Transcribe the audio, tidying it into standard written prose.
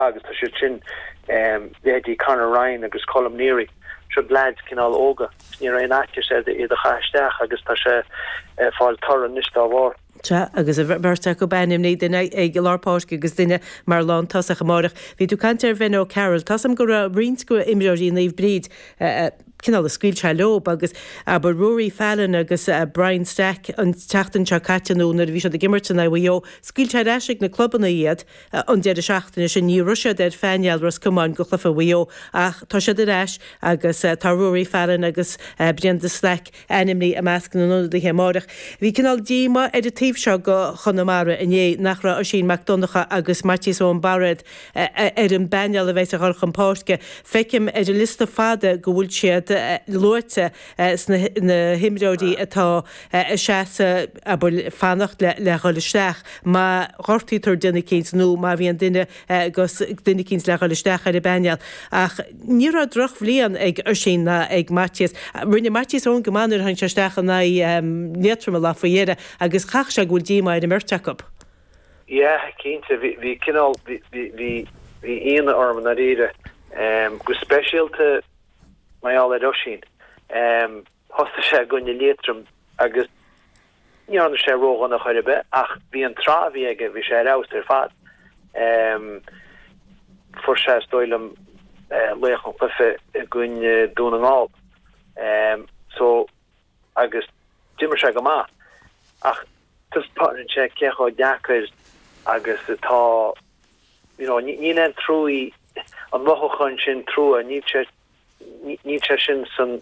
Agus tá siad sin, leithéidí Conor Ryan agus Colm Neary, siod leaids cineál óga, ní raibh aon fhaitíos air iad a chaith isteach agus tá sé ag fáil toradh anois dá bharr. Sea, agus an bheirt acu ainmnithe, duine ag lár páirce agus duine mar lántosach amáireach. Bhí tú ag caint ar Bhen O'Carroll. Tá's a'm go raibh roinnt de imreoirí Naomh Bríd cineál a scaoil sé leob agus abair Rory Fallon agus Brian Stack an tseachtain seo caite nó nuair a bhí siad ag imirt in aghaidh Mhaigh Eo, scaoil sé ar ais ag na clubanna iad. An deireadh seachtaine sin ní raibh siad ar phainéal Ros Comáin go chluiche Mhaigh Eo ach tá siad ar ais agus tá Ruairí Fallon agus Brendan Stack ainmnithe i measc na n-ionadaithe amáireach. Bhí cineál díomá ar an taobh seo go Chonamara inné nach raibh Oisín Mac Donncha agus Maitias Eoin Bairéad ar an bpainéal a bheas ag dhul chun páirce. Feicim ar an liosta fada go bhfuil siad luaite sna himreoirí atá ag seasamh, abair, fanacht le dhul isteach má ghortaítear duine eicínt nó má bhíonn duine agus duine eicínt le dhul isteach ar an bpainéal. Ach ní raibh drochbhliain ag Oisín ná ag Maitias. Rinne Maitias Eoin go maith nuair a tháinig sé isteach in aghaidh Liatroma lá faoi dheireadh agus chaithfeadh sé go bhfuil díomá ar an mbeirt acu. Yeah, cinnte, bhí cineál, bhí ionadh orm i ndáiríre, go speisialta mar gheall ar Oisín. Thosaigh sé i gcoinne Liatroim agus ní dhearna sé ródhona chor ar bith ach bhí an tráth a bhí aige, bhí sé ar fheabhas ar fad. Fuair sé, is dóigh liom, laoch an chluiche i gcoinne Dún na nGall. So, agus d'imir sé go maith ach taispeánann sé cé chomh deacair agus atá, you know, níl aon trua, an mothúchán sin trua, níl sé, níl sé sin san.